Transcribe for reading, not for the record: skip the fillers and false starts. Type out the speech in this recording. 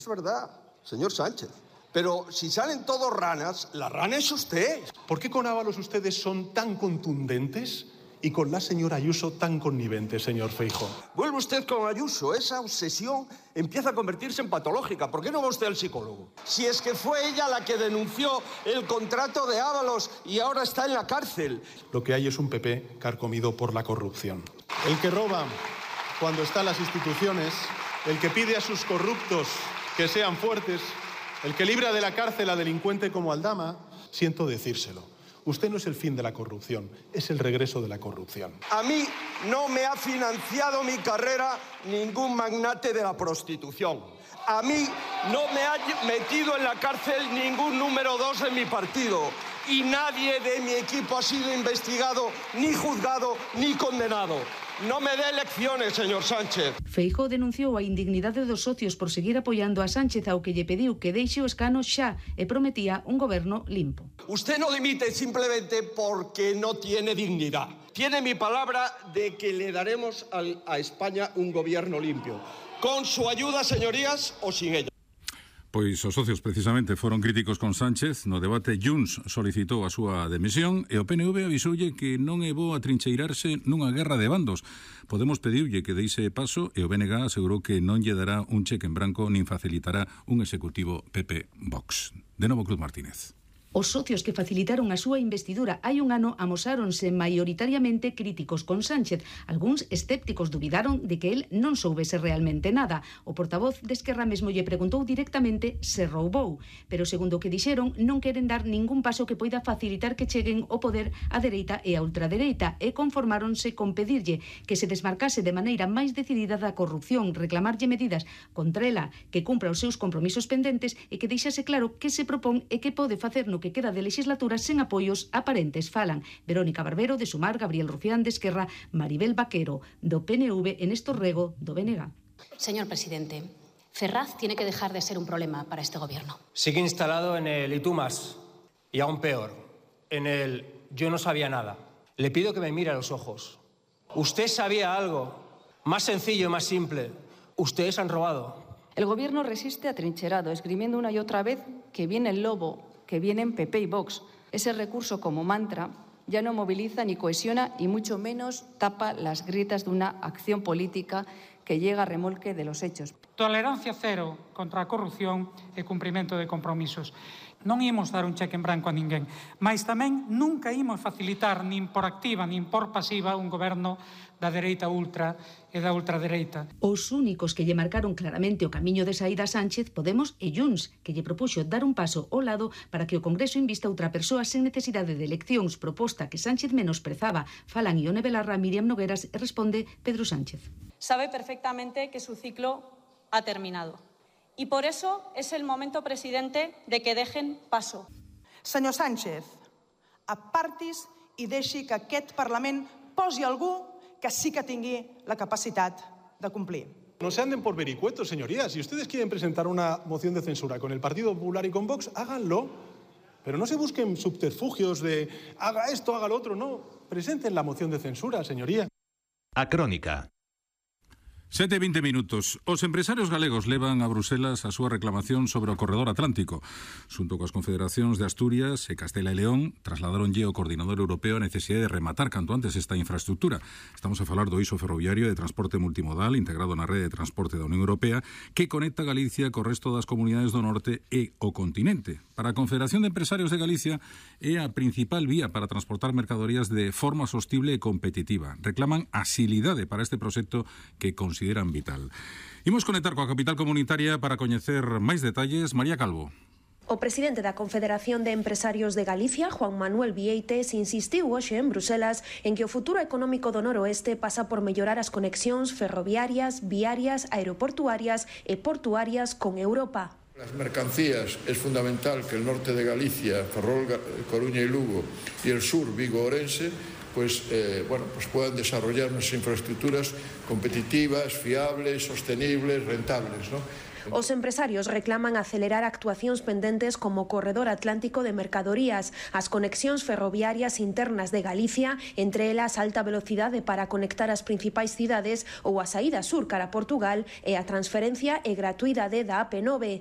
Es verdad, señor Sánchez. Pero si salen todos ranas, la rana es usted. ¿Por qué con Ábalos ustedes son tan contundentes y con la señora Ayuso tan conniventes, señor Feijóo? Vuelve usted con Ayuso. Esa obsesión empieza a convertirse en patológica. ¿Por qué no va usted al psicólogo? Si es que fue ella la que denunció el contrato de Ábalos y ahora está en la cárcel. Lo que hay es un PP carcomido por la corrupción. El que roba cuando está en las instituciones, el que pide a sus corruptos que sean fuertes, el que libra de la cárcel a delincuente como Aldama, siento decírselo. Usted no es el fin de la corrupción, es el regreso de la corrupción. A mí no me ha financiado mi carrera ningún magnate de la prostitución. A mí no me ha metido en la cárcel ningún número 2 de mi partido. Y nadie de mi equipo ha sido investigado, ni juzgado, ni condenado. No me dé lecciones, señor Sánchez. Feijóo denunciou a indignidade dos socios por seguir apoiando a Sánchez, ao que lle pediu que deixe o escano xa e prometía un goberno limpo. Usted no dimite simplemente porque no tiene dignidad. Tiene mi palabra de que le daremos a España un gobierno limpio. Con su ayuda, señorías, o sin ella. Pois os socios precisamente foron críticos con Sánchez. No debate Junts solicitou a súa demisión e o PNV avisoulle que non é bo atrincheirarse nunha guerra de bandos. Podemos pediulle que deixe paso e o BNG asegurou que non lle dará un cheque en branco nin facilitará un executivo PP-Vox. De novo Cruz Martínez. Os socios que facilitaron a súa investidura hai un ano amosáronse maioritariamente críticos con Sánchez. Algúns escépticos dubidaron de que el non soubese realmente nada. O portavoz de Esquerra mesmo lle preguntou directamente se roubou. Pero segundo o que dixeron, non queren dar ningún paso que poida facilitar que cheguen ao poder a dereita e a ultradereita e conformáronse con pedirlle que se desmarcase de maneira máis decidida da corrupción, reclamarlle medidas contra ela, que cumpra os seus compromisos pendentes e que deixase claro que se propón e que pode facer no que queda de legislatura sen apoios aparentes. Falan Verónica Barbero, de Sumar, Gabriel Rufián, de Esquerra, Maribel Vaquero, do PNV, e Néstor Rego, do BNG. Señor presidente, Ferraz tiene que dejar de ser un problema para este gobierno. Sigue instalado en el y tú más, y aún peor, en el yo no sabía nada. Le pido que me mire a los ojos. Usted sabía algo, más sencillo y más simple. Ustedes han robado. El gobierno resiste atrincherado, esgrimiendo una y otra vez que viene el lobo, que vienen PP y Vox. Ese recurso como mantra ya no moviliza ni cohesiona y mucho menos tapa las grietas de una acción política que llega a remolque de los hechos. Tolerancia cero contra a corrupción e cumprimento de compromisos. Non imos dar un cheque en branco a ninguén, mas tamén nunca imos facilitar nin por activa nin por pasiva un goberno da dereita ultra e da ultradereita. Os únicos que lle marcaron claramente o camiño de saída a Sánchez, Podemos e Junts, que lle propuxo dar un paso ao lado para que o Congreso invista outra persoa sen necesidade de eleccións, proposta que Sánchez menosprezaba. Falan Ione Belarra, Miriam Nogueras e responde Pedro Sánchez. Sabe perfectamente que su ciclo ha terminado. Y por eso es el momento, presidente, de que dejen paso. Senyor Sánchez, apartis i deixi que aquest Parlament posi algú que sí que tingui la capacitat de cumplir. No se anden por vericuetos, señorías. Si ustedes quieren presentar una moción de censura con el Partido Popular y con Vox, háganlo. Pero no se busquen subterfugios de haga esto, haga lo otro. No, presenten la moción de censura, señoría. A Crónica. 7:20 minutos. Os empresarios galegos levan a Bruselas a súa reclamación sobre o corredor atlántico. Xunto coas confederacións de Asturias e Castela e León, trasladaronlle ao coordinador europeo a necesidade de rematar canto antes esta infraestructura. Estamos a falar do eixo ferroviario de transporte multimodal integrado na rede de transporte da Unión Europea que conecta Galicia co resto das comunidades do norte e o continente. Para a Confederación de Empresarios de Galicia é a principal vía para transportar mercadorías de forma sostible e competitiva. Reclaman asilidade para este proxecto que consideran vital. Imos conectar coa capital comunitaria para coñecer máis detalles. María Calvo. O presidente da Confederación de Empresarios de Galicia, Juan Manuel Vieites, insistiu hoxe en Bruselas en que o futuro económico do noroeste pasa por mellorar as conexións ferroviarias, viarias, aeroportuarias e portuarias con Europa. Las mercancías es fundamental que el norte de Galicia, Ferrol, Coruña y Lugo, y el sur, Vigo, Orense, pues puedan desarrollar unas infraestructuras competitivas, fiables, sostenibles, rentables, ¿no? Os empresarios reclaman acelerar actuacións pendentes como o corredor atlántico de mercadorías, as conexións ferroviarias internas de Galicia, entre elas alta velocidade para conectar as principais cidades ou a saída sur cara a Portugal e a transferencia e gratuidade da AP9.